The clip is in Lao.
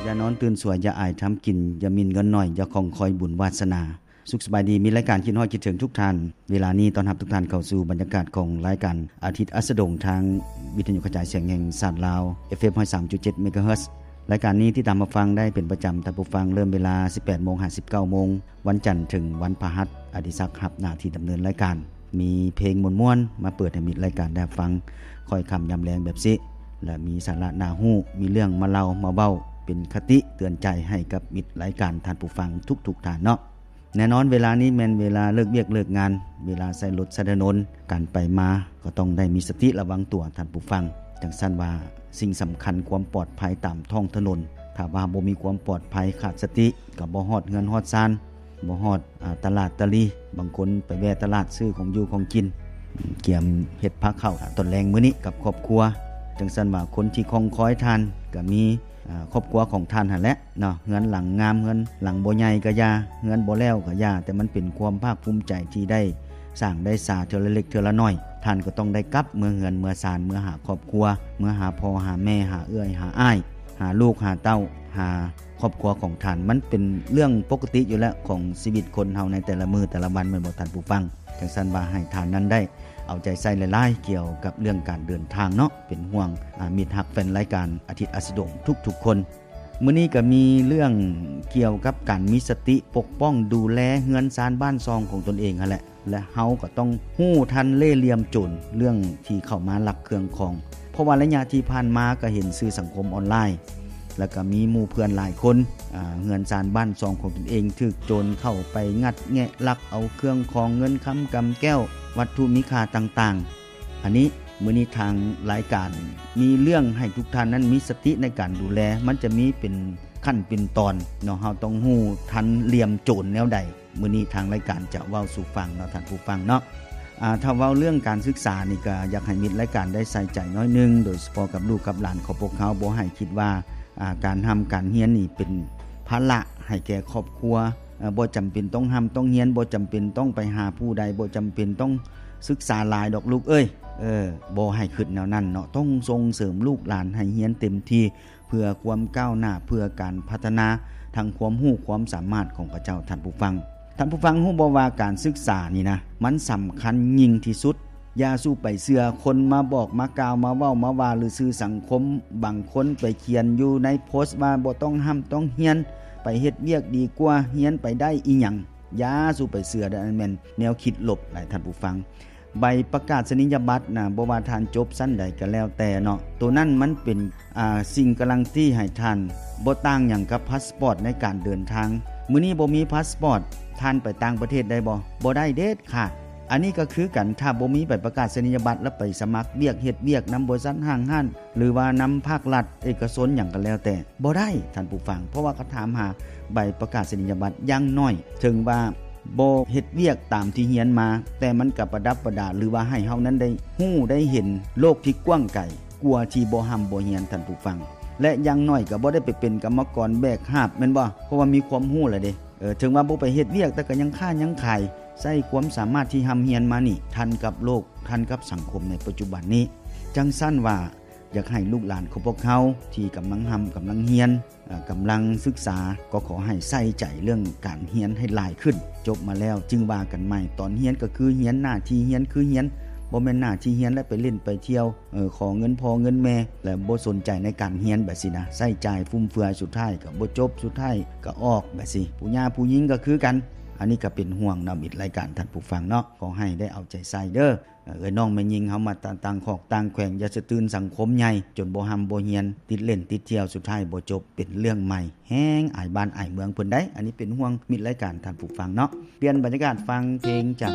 ຢ່ານອນຕື່ນສວຍ ຢ່າອາຍທຳກິນ ຢ່າໝິ່ນເງິນໜ້ອຍ ຢ່າຂ້ອງຄອຍບຸນວາສະໜາ. ສຸກສະບາຍດີ ມິດລາຍການ ຄິດຮອດຄິດເຖິງທຸກທ່ານ. ເວລານີ້ຕ້ອນຮັບທຸກທ່ານເຂົ້າສູ່ບັນຍາກາດຂອງລາຍການອາທິດອັສດະດົງ ທາງວິທະຍຸກະຈາຍສຽງແຫ່ງຊາດລາວ ເອັຟເອັມ ຮ້ອຍສາມຈຸດເຈັດ ເມກາເຮີດ. ລາຍການນີ້ຕິດຕາມຮັບຟັງໄດ້ເປັນປະຈຳ ທ່ານຜູ້ຟັງ, ເລີ່ມເວລາ ສິບແປດໂມງ ຫາ ສິບເກົ້າໂມງ ວັນຈັນເຖິງວັນພະຫັດ. ອະດິສັກຮັບໜ້າທີ່ດຳເນີນລາຍການ. ມີເພງມ່ວນໆ ມາເປີດໃຫ້ມິດລາຍການໄດ້ຮັບຟັງ ຄ່ອຍຄ່ຳຍາມແລງແບບນີ້ ແລະ ມີສາລະໜ້າຮູ້, ມີເລື່ອງມາເລົ່າມາເວົ້າເປັນຄະຕິເຕືອນໃຈໃຫ້ກັບມິດລາຍການ ທ່ານຜູ້ຟັງທຸກໆທ່ານເນາະ. ແນ່ນອນ ເວລານີ້ແມ່ນເວລາເລີກວຽກເລີກງານ, ເວລາໃຊ້ລົດໃຊ້ຖະໜົນ, ການໄປມາກໍຕ້ອງໄດ້ມີສະຕິລະວັງຕົວ ທ່ານຜູ້ຟັງ. ຈັ່ງຊັ້ນວ່າ ສິ່ງສຳຄັນຄວາມປອດໄພຕາມທ້ອງຖະໜົນ, ຖ້າວ່າບໍ່ມີຄວາມປອດໄພ, ຂາດສະຕິ, ກໍບໍ່ຮອດເຮືອນຮອດຊານ, ບໍ່ຮອດ ອາ ຕະຫຼາດຕະຫຼີ. ບາງຄົນໄປແວ່ຕະຫຼາດຊື້ຂອງຢູ່ຂອງກິນ, ກຽມເຮັດພາເຂົ້າຕອນແລງມື້ນີ້ກັບຄອບຄົວ. ຈັ່ງຊັ້ນວ່າ ຄົນທີ່ຄອງຄອຍທ່ານກໍມີ ອາ ຄອບຄົວຂອງທ່ານຫັ້ນແຫຼະເນາະ. ເຮືອນຫຼັງງາມ, ເຮືອນຫຼັງບໍ່ໃຫຍ່ກໍຢ່າ, ເຮືອນບໍ່ແລ້ວກໍຢ່າ, ແຕ່ມັນເປັນຄວາມພາກພູມໃຈທີ່ໄດ້ສ້າງໄດ້ສາເທື່ອລະເລັກເທື່ອລະໜ້ອຍ. ທ່ານກໍຕ້ອງໄດ້ກັບເມືອເຮືອນເມືອຊານ, ເມືອຫາຄອບຄົວ, ເມືອຫາພໍ່ຫາແມ່, ຫາເອື້ອຍຫາອ້າຍ, ຫາລູກຫາເຕົ້າ, ຫາ ຄອບຄົວຂອງທ່ານ. ມັນເປັນເລື່ອງປົກກະຕິຢູ່ແລ້ວຂອງຊີວິດຄົນເຮົາໃນແຕ່ລະມື້ແຕ່ລະວັນ ແມ່ນບໍ່ທ່ານຜູ້ຟັງ? ຈັ່ງຊັ້ນວ່າ ໃຫ້ທ່ານນັ້ນໄດ້ເອົາໃຈໃສ່ຫຼາຍໆ ກ່ຽວກັບເລື່ອງການເດີນທາງເນາະ. ເປັນຫ່ວງ ອາ ມິດຮັກແຟນລາຍການອາທິດອັສດະດົງທຸກໆຄົນ. ມື້ນີ້ກໍມີເລື່ອງກ່ຽວກັບການມີສະຕິປົກປ້ອງດູແລເຮືອນຊານບ້ານຊ່ອງຂອງຕົນເອງຫັ້ນແຫຼະ. ແລະ ເຮົາກໍຕ້ອງຮູ້ທັນເລ່ຫຼ່ຽມໂຈນ ເລື່ອງທີ່ເຂົ້າມາລັກເຄື່ອງຂອງ. ເພາະວ່າໄລຍະທີ່ຜ່ານມາກໍເຫັນສື່ສັງຄົມອອນລາຍ ແລ້ວກໍມີໝູ່ເພື່ອນຫຼາຍຄົນ ອາ ເຮືອນຊານບ້ານຊ່ອງຂອງຕົນເອງຖືກໂຈນເຂົ້າໄປງັດແງະລັກເອົາເຄື່ອງຂອງເງິນຄຳກຳແກ້ວ ວັດຖຸມີຄ່າຕ່າງໆ. ອັນນີ້ ມື້ນີ້ທາງລາຍການມີເລື່ອງໃຫ້ທຸກທ່ານນັ້ນມີສະຕິໃນການດູແລ. ມັນຈະມີເປັນຂັ້ນເປັນຕອນເນາະ, ເຮົາຕ້ອງຮູ້ທັນຫຼ່ຽມໂຈນແນວໃດ. ມື້ນີ້ທາງລາຍການຈະເວົ້າສູ່ຟັງເນາະ ທ່ານຜູ້ຟັງເນາະ. ອາ ຖ້າເວົ້າເລື່ອງການສຶກສານີ້ ກໍຢາກໃຫ້ມິດລາຍການໄດ້ໃສ່ໃຈໜ້ອຍໜຶ່ງ, ໂດຍສະເພາະກັບລູກກັບຫຼານຂອງພວກເຮົາ. ບໍ່ໃຫ້ຄິດວ່າ ອາ ການຮ່ຳການຮຽນນີ້ເປັນພາລະໃຫ້ແກ່ຄອບຄົວ. ເອີ ບໍ່ຈຳເປັນຕ້ອງຮ່ຳຕ້ອງຮຽນ, ບໍ່ຈຳເປັນຕ້ອງໄປຫາຜູ້ໃດ, ບໍ່ຈຳເປັນຕ້ອງສຶກສາຫຼາຍດອກລູກເອີຍ. ເອີ ບໍ່ໃຫ້ຄິດແນວນັ້ນເນາະ. ຕ້ອງສົ່ງເສີມລູກຫຼານໃຫ້ຮຽນເຕັມທີ່ ເພື່ອຄວາມກ້າວໜ້າ, ເພື່ອການພັດທະນາທາງຄວາມຮູ້ຄວາມສາມາດຂອງເຂົາເຈົ້າ. ທ່ານຜູ້ຟັງ, ທ່ານຜູ້ຟັງຮູ້ບໍ່ວ່າການສຶກສານີ້ນະ ມັນສຳຄັນຍິ່ງທີ່ສຸດ. ຢ່າສູ່ໄປເຊື່ອຄົນມາບອກມາກ່າວມາເວົ້າມາວ່າ ຫຼື ສື່ສັງຄົມບາງຄົນໄປຂຽນຢູ່ໃນໂພສວ່າບໍ່ຕ້ອງຮ່ຳຕ້ອງຮຽນ, ໄປເຮັດວຽກດີກວ່າ, ຮຽນໄປໄດ້ອີ່ຫຍັງ. ຢ່າສູ່ໄປເຊື່ອເດີ, ອັນນັ້ນແມ່ນແນວຄິດລົບຫຼາຍ ທ່ານຜູ້ຟັງ. ໃບປະກາສະນີຍະບັດນະ ບໍ່ວ່າທ່ານຈົບຊັ້ນໃດກໍແລ້ວແຕ່ເນາະ, ໂຕນັ້ນມັນເປັນ ອາ ສິ່ງກາຣັນຕີໃຫ້ທ່ານ, ບໍ່ຕ່າງຫຍັງກັບພາສປອດໃນການເດີນທາງ. ມື້ນີ້ບໍ່ມີພາສປອດ, ທ່ານໄປຕ່າງປະເທດໄດ້ບໍ່? ບໍ່ໄດ້ເດັດຂາດ. ອັນນີ້ກໍຄືກັນ, ຖ້າບໍ່ມີໃບປະກາສະນີຍະບັດ ແລ້ວໄປສະໝັກວຽກ, ເຮັດວຽກນຳບໍລິສັດຫ້າງຮ້ານ ຫຼືວ່ານຳພາກລັດເອກະຊົນຫຍັງກໍແລ້ວແຕ່ ບໍ່ໄດ້ ທ່ານຜູ້ຟັງ, ເພາະວ່າເຂົາຖາມຫາໃບປະກາສະນີຍະບັດຢ່າງໜ້ອຍ. ເຖິງວ່າບໍ່ເຮັດວຽກຕາມທີ່ຮຽນມາ, ແຕ່ມັນກໍປະດັບປະດາ ຫຼືວ່າໃຫ້ເຮົານັ້ນໄດ້ຮູ້ໄດ້ເຫັນໂລກທີ່ກວ້າງໄກກວ່າທີ່ບໍ່ຮ່ຳບໍ່ຮຽນ, ທ່ານຜູ້ຟັງ. ແລະ ຢ່າງໜ້ອຍກໍບໍ່ໄດ້ໄປເປັນກຳມະກອນແບກຫາບ ແມ່ນບໍ່? ເພາະວ່າມີຄວາມຮູ້ແລ້ວເດ້. ເອີ ເຖິງວ່າບໍ່ໄປເຮັດວຽກ ແຕ່ກໍຍັງຄ້າຍັງຂາຍ, ໃຊ້ຄວາມສາມາດທີ່ຮ່ຳຮຽນມານີ້ ທັນກັບໂລກ, ທັນກັບສັງຄົມໃນປັດຈຸບັນນີ້. ຈັ່ງຊັ້ນວ່າ ຢາກໃຫ້ລູກຫຼານຂອງພວກເຮົາທີ່ກຳລັງຮ່ຳກຳລັງຮຽນ, ເອີ ກຳລັງສຶກສາ, ກໍຂໍໃຫ້ໃສ່ໃຈເລື່ອງການຮຽນໃຫ້ຫຼາຍຂຶ້ນ. ຈົບມາແລ້ວຈຶ່ງວ່າກັນໃໝ່. ຕອນຮຽນກໍຄືຮຽນ, ໜ້າທີ່ຮຽນຄືຮຽນ, ບໍ່ແມ່ນໜ້າທີ່ຮຽນແລ້ວໄປຫຼິ້ນໄປທ່ຽວ, ເອີ ຂໍເງິນພໍ່ເງິນແມ່ ແລະ ບໍ່ສົນໃຈໃນການຮຽນແບບຊີ້ນະ, ໃຊ້ຈ່າຍຟຸມເຟືອຍ, ສຸດທ້າຍກໍບໍ່ຈົບ, ສຸດທ້າຍກໍອອກແບບຊີ້. ຜູ້ຍ່າຜູ້ຍິງກໍຄືກັນ. ອັນນີ້ກໍເປັນຫ່ວງນຳອີກລາຍການ ທ່ານຜູ້ຟັງເນາະ, ຂໍໃຫ້ໄດ້ເອົາໃຈໃສ່ເດີ. ເອີ ເອື້ອຍນ້ອງແມ່ຍິງເຮົາມາຕ່າງ ຕ່າງຂອກຕ່າງແຂວງ, ຢ່າສະຕື່ນສັງຄົມໃຫຍ່ ຈົນບໍ່ຮ່ຳບໍ່ຮຽນ, ຕິດຫຼິ້ນຕິດທ່ຽວ, ສຸດທ້າຍບໍ່ຈົບ, ເປັນເລື່ອງໃໝ່, ແຮງອາຍບ້ານອາຍເມືອງເພິ່ນໄດ໋. ອັນນີ້ເປັນຫ່ວງມິດລາຍການ ທ່ານຜູ້ຟັງເນາະ. ປ່ຽນບັນຍາກາດຟັງເພງຈາກ